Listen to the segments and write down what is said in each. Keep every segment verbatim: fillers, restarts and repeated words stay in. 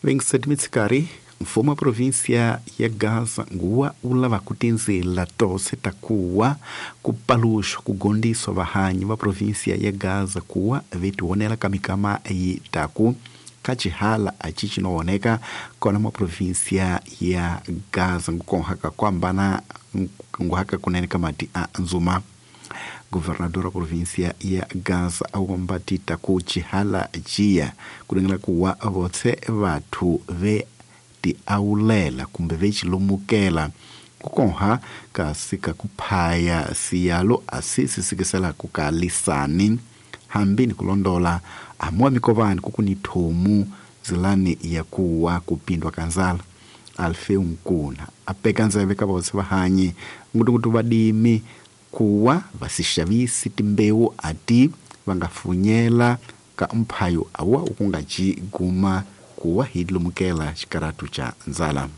vinte e sete mitsikari mfumo wa província ya Gaza nguwa wu lava ku tindzela tose ta kuwa ku paluxwa ku gondiswa vahanyi va província ya Gaza kuwa vetionela ka mikama yi taku ka xihala a ci cinooneka kona mwa província ya Gaza ngukonhaka kuhambana nguhaka kunene ka mati a nzuma. Governador wa província ya Gaza awomba tita ku xihala ciya kulengela kuwa votse vathu ve tiawulela kumbe ve xilumukela kukonha kasi ka kuphaya siyalo asi sisikiselaku ka lisani hambi ni kulondola amuwa mikovani kukuni thomu zilani ya kuwa kupindwa ka nzala. Alfeu Nkuna apeka nzeve ka votse vahanyi ngutungutu vadimi kuwa vasixavisi timbewu ati vangafunyela ka mphayo awa ukungaci guma kuwa hidlumukela xikaratu cha nzala.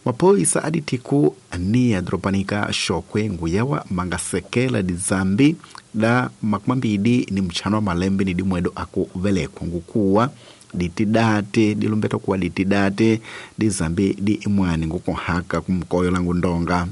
Maphoyisa a dithiku ania doropanika Xokwe nguyawa mangasekela dizambi da makumambili ni mchano wa malembe ni dimwedo aku velekwa ngukuwa ditidate dilumbeta kuwa ditidate dizambi di imwani ngukunhaka kumkoyo langu ndonga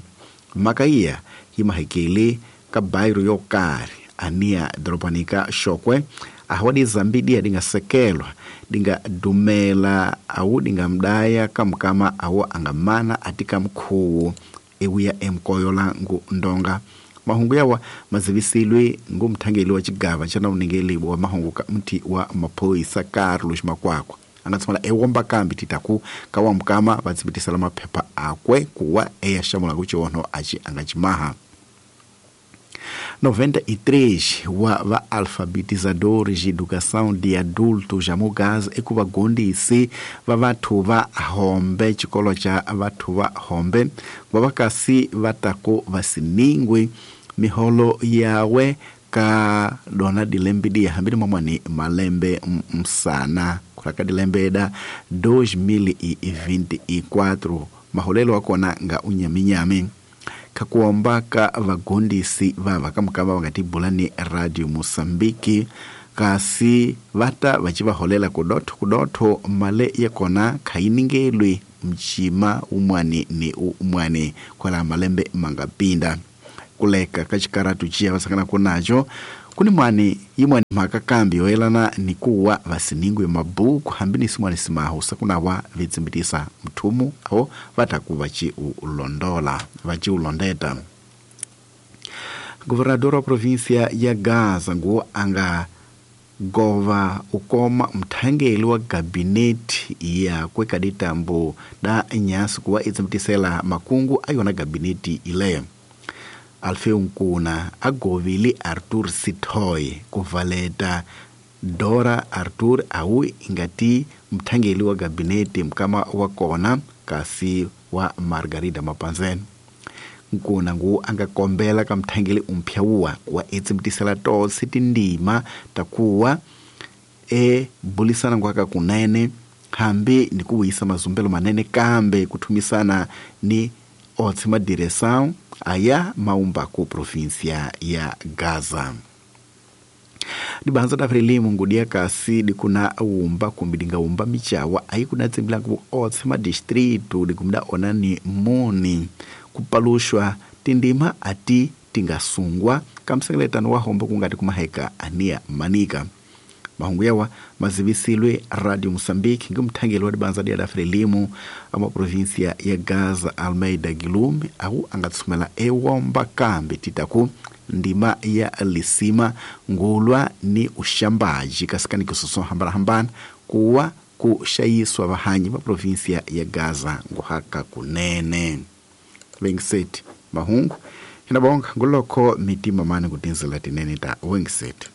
makaiya himahekele ka bairo yokari ania doropanika Xokwe awa dizambi diya dingasekelwa dingadumela awu dingamdaya kamkama awu angamana atika mkhuwu ewuya emkoyo langu ndonga. Mahungu yawa mazivisilwe ngumthangeli wa xigava xa nawuningeliwa wa mahungu ka mthi wa maphoyisa Carlos Makwakwa angatshama ewomba kambi titaku ka wa mukama va tsibitisela maphepha akwe kuwa eya xamula ku ciono aci angacimaha. noventa e três wa va-alfabetizadores de educação de adultos ja mugaza eku vagondisi va vathu va hombe xikolo xa vathu va hombe va va kasi va taku va siningwi miholo yawe ka dona dilembe dia hambi ni mamwani malembe msana kulaka dilembe da dois mil e vinte e quatro maholelo wa kona nga unyaminyami kakuomba ka vagondisi vava kamukava vangatibula ni Radio Mosambiki kasi vata vachivaholela kudotho kudotho male yakona khainingelwi mchima umwani ni umwani kwala malembe mangapinda kuleka ka xikaratu ciya vasangana kunaco kuni mwani yimwani mhaka kambi yoyelana ni kuwa vasiningwe mabuku hambi ni simwani simahu sakunawa vitsimbitisa mthumu awo vataku vaciulondola vaciulondeta. Governador wa província ya Gaza nguwo anga gova ukoma mthangeli wa gabineti yakwe kaditambo da nyasi kuwa itsimbitisela makungu ayona gabineti ileyo. Alfeu Nkuna agovile Arthur Sithoy kuvaleta Dora Arthur awu ingati mthangeli wa gabineti mkama wa kona kasi wa Margarida Mapanzeni. Nkuna ngu angakombela ka mthangeli umpya wuwa wa etsimbitisela tose tindima takuwa e bulisana ngwaka kunene hambi ni kuwisa mazumbelo manene kambe kuthumisana ni otse madireção aya maumba ku província ya Gaza. Dibanza da Frelimo ngudia kasi dikuna umba kumbi dingaumba michawa ayikuna tsimbila ku otse madistrito dikumda onani moni kupalushwa tindima ati tingasungwa kamsengeletano wa hombo kungati kumaheka ania manika. Mahungu yawa mazivisilwe Radio Mosambiki ngumthangeli wa dibanza dia da Frelimo ama província ya Gaza Almeida Guilherme au angatsumela ewomba kambi titaku ndima ya lisima ngulwa ni ushambaji kasikani kusoso hambana hambana kuwa kushayiswa vahanyi va província ya Gaza nguhaka kunene. vinte e sete mahungu hinabonga nguloko mitima mane kutinzela tinene ta vinte e sete.